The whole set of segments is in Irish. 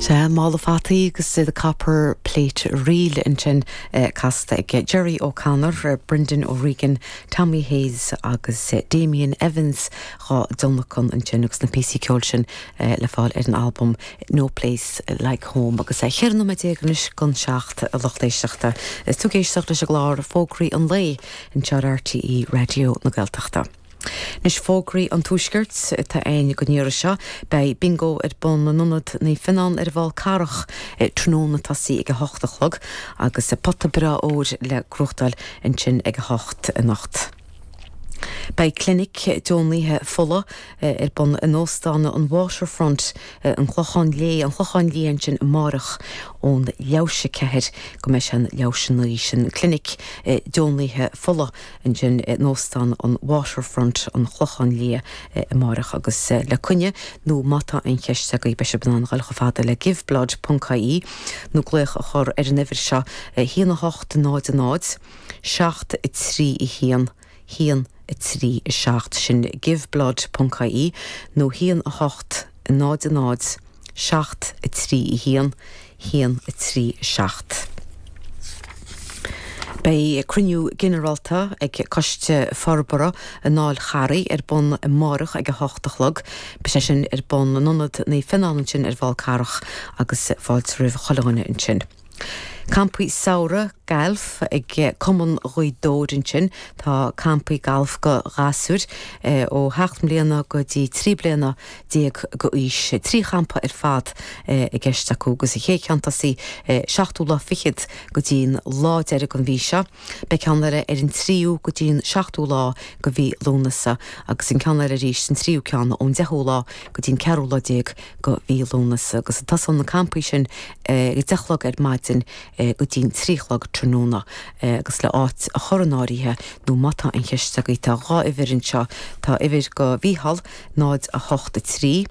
Sea, Mála Fataí agus The Copper Plate Reel ansin casta ag Gerry O'Connor, Brendan O'Regan, Tommy Hayes agus Damien Evans dhá dtionlacan ansin agus na píosaí ceoil sin le fáil ar an albam No Place Like Home. Agus 14 nóiméad anois don 7 a lucht éisteachta. Is tú ag éisteacht leis an gclár Fógraí an Lae anseo ar RTÉ Raidió na Gaeltachta. Anois fógraí an Tuaiscirt atá againn don iarraidh seo. Beidh Bingo ar bun in Ionad Naomh Fionán ar an bhFál Carrach tráthnóna ag tosaí ag 8 a chlog agus pota breá óir le gnóthachtáil ansin ag 8 anocht. Beidh clinic deonaithe fola ar bun in Óstán an Waterfront, an Clochán Léith, An Clochán Liath ansin amárach ón leathuair théis 4 go mbeidh sé an leathuair théis 9. Sin clinic deonaithe fola. ansin in Óstán an Waterfront, An Clochán Liath, amárach agus le coinne nó má tá aon cheist agaibh beidh sibh in ann dhul chomh fada le giveblood ponc ie nó glaoch a chur ar an uimhir seo, 1 8 0 0 7 3 1 1 3 7 sin giveblood ponc ie nó 1 8 0 0 7 3 1 1 3 7. Beidh cruinniú ginearálta ag Coiste Forbartha an Fháil Charraigh ar bun amárach ag 8 a chlog. Beidh sé sin ar bun in Ionad Naomh Fionnán ansin ar an bhFál Carrach agus fáilte roimh chuile dhuine ansin. Campaí samhraidh gailf ag Cumann Ghaoth Dobhair ansin. Tá campaí gailf go ghasúir ó sheacht mbliana go dtí 13 bliana go aois. 3 champa ar fad i gceist acu agus an chéad cheann tosaí seachtú lá fichead go dtí an lá deiridh den mhí seo. Beidh ceann eile ar an tríú go dtí an seachtú lá go mhí Lúnasa agus an ceann eile arís an tríú ceann ón deichiú lá go dtí an ceathrú lá déag go mhí Lúnasa agus tosóidh na campaí sin ag a 10 a chlog ar maidin go dtí'n 3 a chlog tráthnóna agus le áit a chur in áirithe nó má tá aon cheist agaibh tá 2 uimhir anseo, tá uimhir go Mhícheál 0 8 3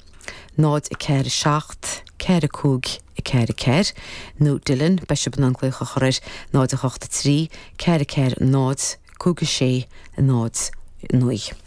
0 4 7 4 5 4 4 nó Dylan beidh sibh in ann glaoch a chur air 0 8 3 4 4 0 5 6 0 9.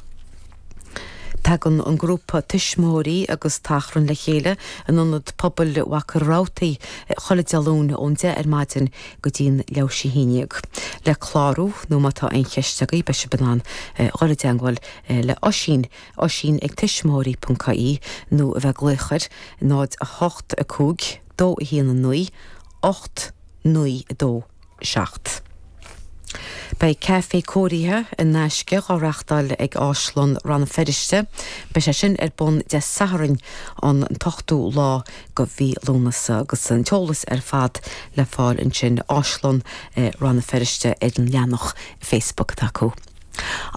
Tagann an grúpa tuismitheoirí agus tachrann le chéile in Ionad Pobail Mhachaire Rabhartaigh chuile Dé Luain ón 10 ar maidin go dtí'n leathuair théis 11. Le clárú nó má tá aon cheist agaibh beidh sibh in ann dhul i dteangmháil le Oisín, oisín ag tuismitheoirí.ie nó a bheith ag glaoch ar 0 8 5 2 1 9 8 9 2. 7. Beidh caife cóirithe in aisce dhá reachtáil ag Áislann Rann na Feirste. Beidh sé sin ar bun Dé Sathairn an t-ochtú lá go mhí Lúnasa agus an t-eolas ar fad le fáil ansin Áislann Rann na Feirste ar an leathanach Facebook atá acu.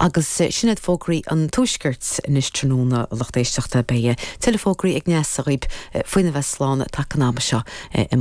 Agus sin iad fógraí an Tuaiscirt anois tráthnóna, a lucht éisteachta. Beidh tuilleadh fógraí ag Neasa dhaoibh faoina bheith slán taca an ama seo amárach.